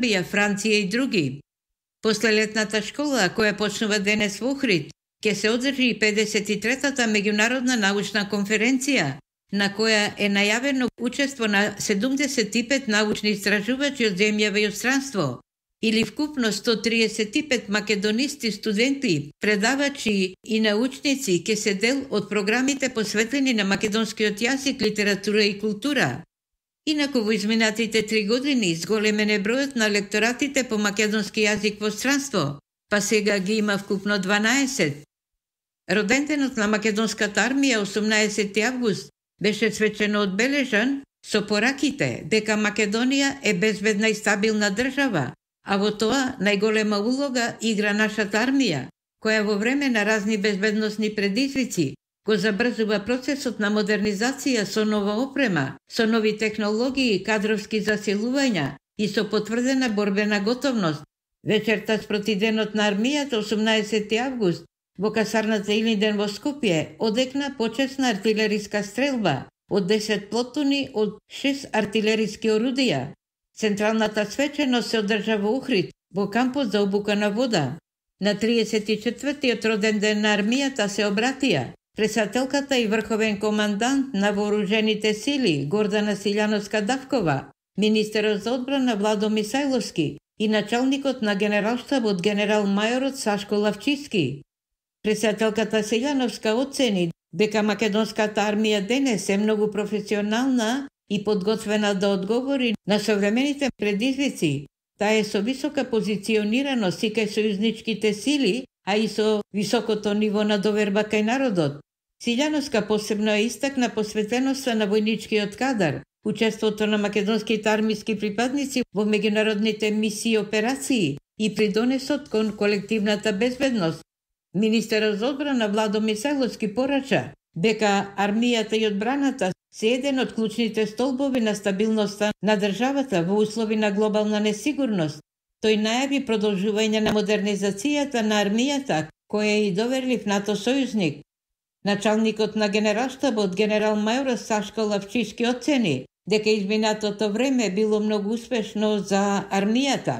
Србија, Франција и други. После летната школа, која почнува денес во Охрид, ќе се одржи и 53-та меѓународна научна конференција, на која е најавено учество на 75 научни истражувачи од земјава и од странство, или вкупно 135 македонисти, студенти, предавачи и научници ќе се дел од програмите посветени на македонскиот јазик, литература и култура. Инаку во изминатите 3 години зголемен е бројот на лекторатите по македонски јазик во странство, па сега ги има вкупно 12. Роденденот на македонската армија 18 август беше свечено одбележан со пораките дека Македонија е безбедна и стабилна држава, а во тоа најголема улога игра нашата армија, која во време на разни безбедносни предизвици го забрзува процесот на модернизација со нова опрема, со нови технологии и кадровски засилувања и со потврдена борбена готовност. Вечерта спроти денот на армијата 18 август во касарната Илинден во Скопје одекна почесна артилериска стрелба од 10 плотуни од 6 артилериски орудија. Централната свеченост се одржа во Охрид, во кампот за обука на вода. На 34-тиот роден ден на армијата се обратија председателката и врховен командант на вооружените сили Гордана Силјановска-Давкова, министерот за одбрана Владо Мисајловски и началникот на генералштабот генерал-мајорот Сашко Лавчиски. Председателката Силјановска оцени дека македонската армија денес е многу професионална и подготвена да одговори на современите предизвици. Таа е со висока позиционираност и кај сојузничките сили, а и со високото ниво на доверба кај народот. Силјановска посебно е истакна посветеноста на војничкиот кадар, учеството на македонските армиски припадници во меѓународните мисии и операции и придонесот кон колективната безбедност. Министерот за одбрана Владо Мисајловски порача дека армијата и одбраната се еден од клучните столбови на стабилноста на државата во услови на глобална несигурност. Тој најави продолжување на модернизацијата на армијата, која е и доверлив НАТО сојузник. Началникот на генералштабот генерал-мајор Сашко Лавчиски оцени дека изминатото време било многу успешно за армијата.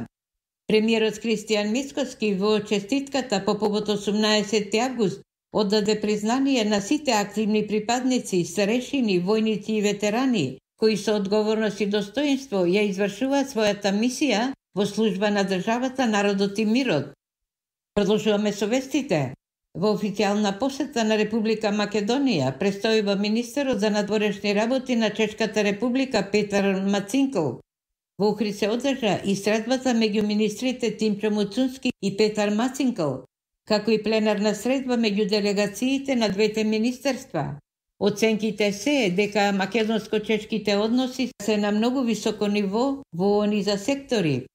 Премиерот Кристијан Мицкоски во честитката по повод 18 август оддаде признание на сите активни припадници, старешини, војници и ветерани, кои со одговорност и достоинство ја извршуваат својата мисија во служба на државата, народот и мирот. Продолжуваме со вестите. Во официјална посета на Република Македонија престојува министерот за надворешни работи на Чешката република Петар Мацинкл. Во Охрид се одржа и средбата меѓу министрите Тимчо Муцунски и Петар Мацинкл, како и пленарна средба меѓу делегациите на двете министерства. Оценките се дека македонско-чешките односи се на многу високо ниво во ониза сектори.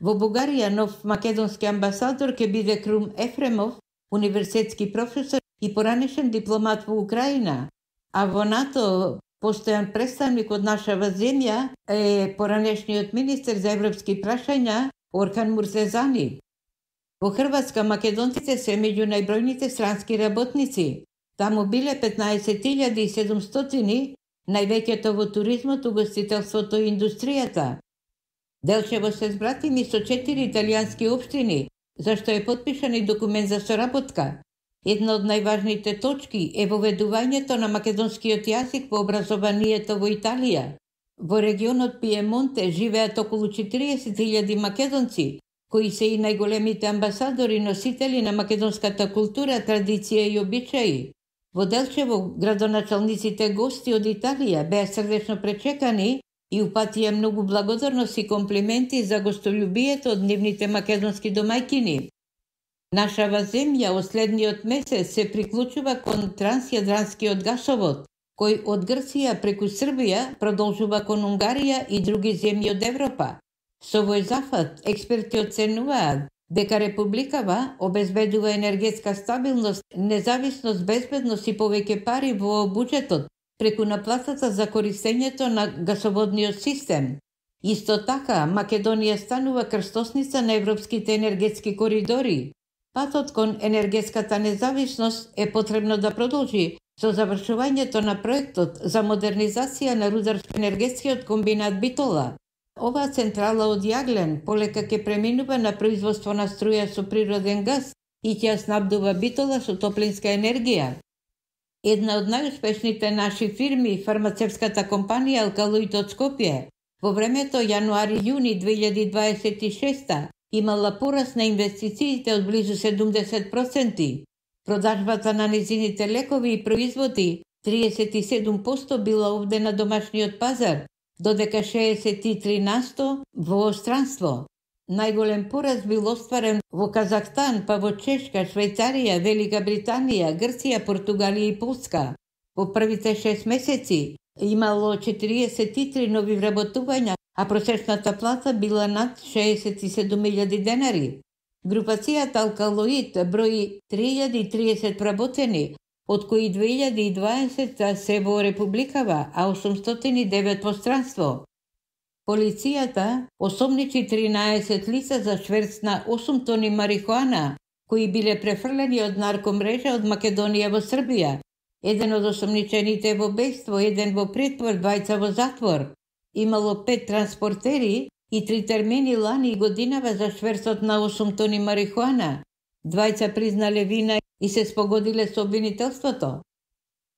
Во Бугарија нов македонски амбасадор ќе биде Крум Ефремов, универзитетски професор и поранешен дипломат во Украина, а во НАТО постојан представник од нашава земја е поранешниот министер за европски прашања Орхан Муртезани. Во Хрватска македонците се меѓу најбројните странски работници. Таму биле 15.700, највеќето во туризмот, угостителството и индустријата. Делчево се збратими со 4 италијански општини, зашто е подпишан и документ за соработка. Една од најважните точки е воведувањето на македонскиот јазик во образованието во Италија. Во регионот Пиемонте живеат околу 40.000 македонци, кои се и најголемите амбасадори и носители на македонската култура, традиција и обичаи. Во Делчево градоначалниците гости од Италија беа срдечно пречекани и упатија многу благодарност и комплименти за гостолюбието од нивните македонски домајкини. Нашава земја од следниот месец се приклучува кон трансјадранскиот гасовод, кој од Грција преку Србија продолжува кон Унгарија и други земји од Европа. Со овој зафат, експерти оценуваат дека републикава обезбедува енергетска стабилност, независност, безбедност и повеќе пари во буџетот преку наплатата за користењето на гасоводниот систем. Исто така, Македонија станува крстосница на европските енергетски коридори. Патот кон енергетската независност е потребно да продолжи со завршувањето на проектот за модернизација на рударско-енергетскиот комбинат Битола. Оваа централа од јаглен полека ќе преминува на производство на струја со природен газ и ќе ја снабдува Битола со топлинска енергија. Една од најуспешните наши фирми, фармацевската компанија Алкалоид од Скопје, во времето јануари-јуни 2026 имала пораст на инвестициите од близу 70%. Продажбата на незините лекови и производи 37% била овде на домашниот пазар, додека 63% во странство. Најголем пораст бил остварен во Казахстан, па во Чешка, Швајцарија, Велика Британија, Грција, Португалија и Полска. Во првите 6 месеци имало 43 нови вработувања, а просечната плата била над 67.000 денари. Групацијата Алкалоид брои 3030 вработени, од кои 2020 се во Републикава, а 809 во странство. Полицијата осомничи 13 лица за шверц на 8 тони марихуана, кои биле префрлени од наркомрежа од Македонија во Србија. Еден од осомничените во бејство, еден во притвор, двајца во затвор. Имало 5 транспортери и 3 термини лани и годинава за шверцот на 8 тони марихуана. Двајца признале вина и се спогодиле со обвинителството.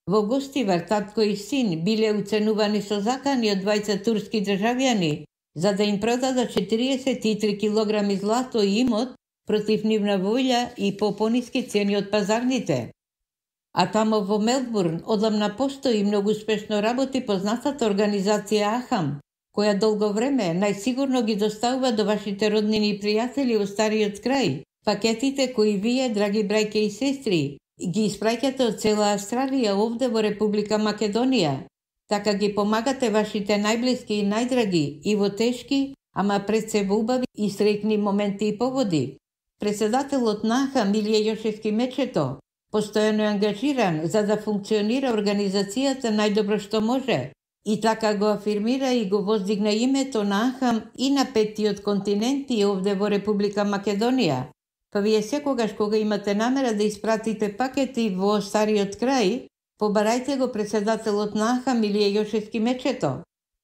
Во Гостивар татко и син биле уценувани со закани од двајца турски државјани за да им продадат 43 килограми злато и имот против нивна волја и по пониски цени од пазарните. А тамо во Мелбурн одамна постои многу успешно работи познатата организација Ахам, која долго време најсигурно ги доставува до вашите роднини и пријатели во стариот крај пакетите кои вие, драги браќа и сестри, ги испраќате од цела Австралија овде во Република Македонија. Така ги помагате вашите најблиски и најдраги и во тешки, ама пред се во убави и среќни моменти и поводи. Председателот на Ахам Илија Јошевски Мечето постојано е ангажиран за да функционира организацијата најдобро што може и така го афирмира и го воздигна името на Ахам и на 5-тиот континент и овде во Република Македонија. Па вие секогаш кога имате намера да испратите пакети во стариот крај, побарајте го председателот на Ахам Илија Јошевски Мечето.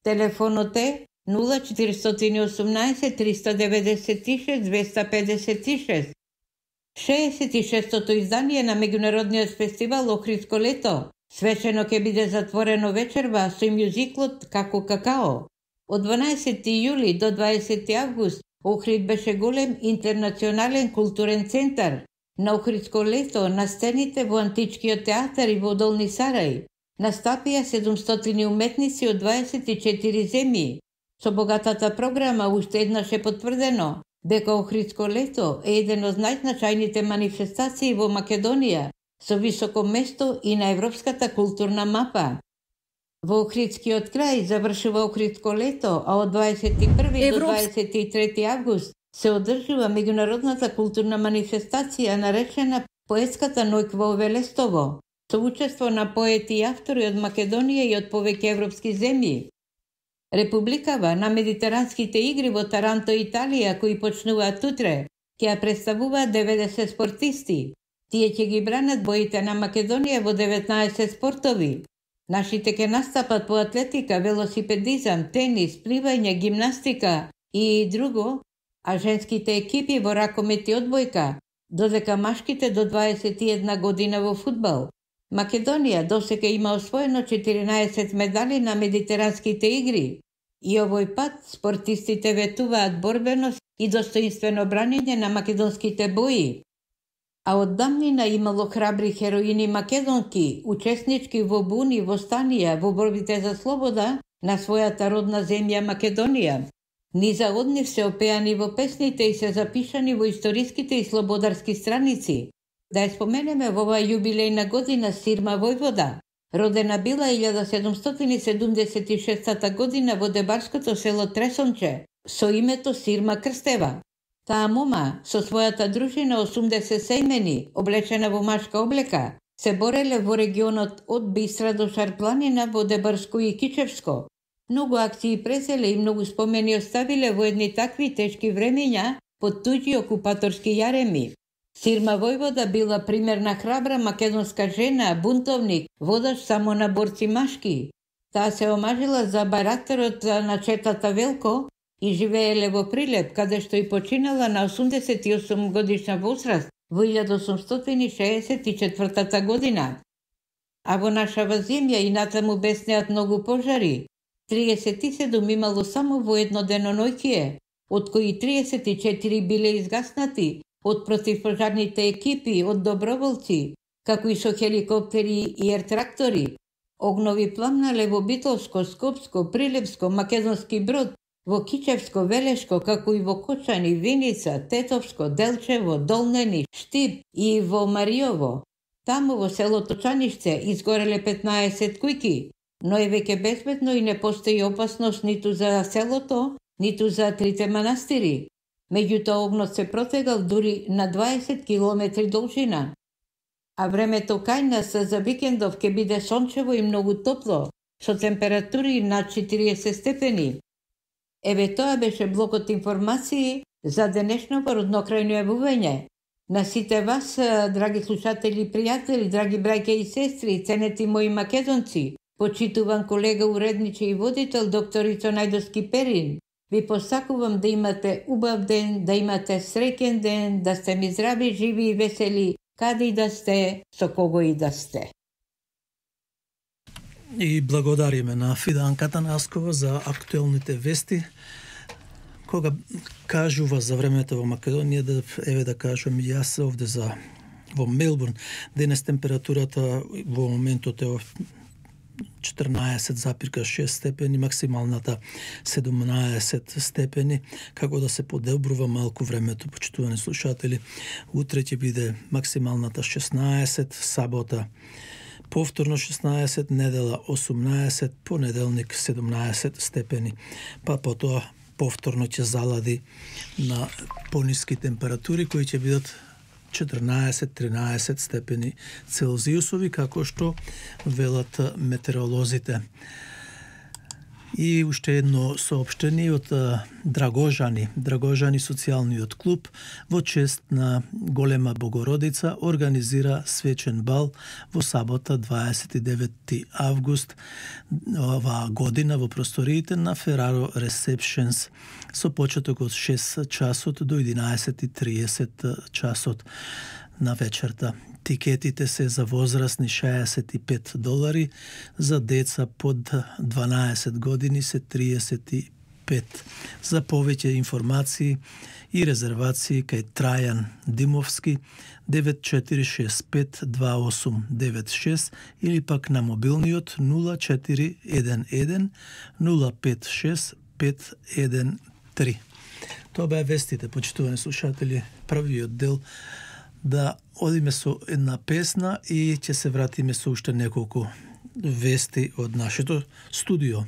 Телефонот е 0418 396 256. 66-тото издание на меѓународниот фестивал Охридско лето свечено ќе биде затворено вечерва со мјузиклот Како какао. Од 12 јули до 20 август Охрид беше голем интернационален културен центар. На Охридско лето на сцените во Античкиот театар и во Долни Сарај настапија 700 уметници од 24 земји. Со богатата програма уште еднаш е потврдено дека Охридско лето е еден од најзначајните манифестации во Македонија со високо место и на европската културна мапа. Во Охридскиот крај завршува Охридско лето, а од 21 до 23 август се одржува меѓународната културна манифестација наречена Поетската ноќ во Велестово, со учество на поети и автори од Македонија и од повеќе европски земји. Републикава на Медитеранските игри во Таранто, Италија, кои почнуваат утре, ќе ја представуваат 90 спортисти. Тие ќе ги бранат боите на Македонија во 19 спортови. Нашите ќе настапат по атлетика, велосипедизам, тенис, пливање, гимнастика и друго, а женските екипи во ракомет и одбојка, додека машките до 21 година во фудбал. Македонија досега има освоено 14 медали на Медитеранските игри и овој пат спортистите ветуваат борбеност и достоинствено бранење на македонските бои. А од давнина имало храбри хероини македонки, учеснички во буни, востанија, во борбите за слобода на својата родна земја Македонија. Низа од нив се опеани во песните и се запишани во историските и слободарски страници. Да ја споменеме во оваа јубилејна година Сирма Војвода. Родена била 1776 година во дебарското село Тресонче, со името Сирма Крстева. Таа мома, со својата дружина 80 сејмени, облечена во машка облека, се бореле во регионот од Бистра до Шарпланина во Дебарско и Кичевско. Многу акции презеле и многу спомени оставиле во едни такви тешки времења под туѓи окупаторски јареми. Сирма Војвода била примерна храбра македонска жена, бунтовник, водаш само на борци машки. Таа се омажила за барактерот на четата Велко и живееле во Прилеп, каде што и починала на 88 годишна возраст во 1864 година. А во нашава земја и натаму беснеат многу пожари. 37 имало само во едно деноноќие, од кои 34 биле изгаснати од противпожарните екипи, од доброволци, како и со хеликоптери и ертрактори. Огнови пламнале во Битолско, Скопско, Прилепско, Македонски Брод, во Кичевско, Велешко, како и во Кочани, Виница, Тетовско, Делчево, Долнени, Штип и во Мариово. Таму во селото Чанишце изгореле 15 кујки, но е веќе безбедно и не постои опасност ниту за селото, ниту за трите манастири. Меѓутоа огнот се протегал дури на 20 километри должина. А времето кај нас за викендов ќе биде сончево и многу топло, со температури над 40 степени. Еве тоа беше блокот информации за денешното роднокрајно јавување. На сите вас, драги слушатели и пријатели, драги браќа и сестри, ценети мои македонци, почитуван колега, уредниче и водител докторица Најдовски Перин, ви посакувам да имате убав ден, да имате среќен ден, да сте ми здрави, живи и весели, каде и да сте, со кого и да сте. И благодариме на Фиданката Наскова за актуелните вести. Кога кажува за времето во Македонија, да кажам и јас овде во Мелбурн, денес температурата во моментот е 14,6 степени, максималната 17 степени, како да се подобрува малку времето, почитувани слушатели. Утре ќе биде максималната 16, сабота повторно 16, недела 18, понеделник 17 степени, па потоа повторно ќе залади на пониски температури кои ќе бидат 14-13 степени Целзиусови, како што велат метеоролозите. И уште едно соопштение од Драгожани социјалниот клуб во чест на Голема Богородица организира свечен бал во сабота 29 август оваа година во просториите на Ferraro Receptions со почеток од 6 часот до 11:30 часот на вечерта. Тикетите се за возрастни $65, за деца под 12 години се 35. За повеќе информации и резервации кај Трајан Димовски 94652896 или пак на мобилниот 0411 056 513. Тоа беа вестите, почитувани слушатели, првиот дел. Да одиме со една песна и ќе се вратиме со уште неколку вести од нашето студио.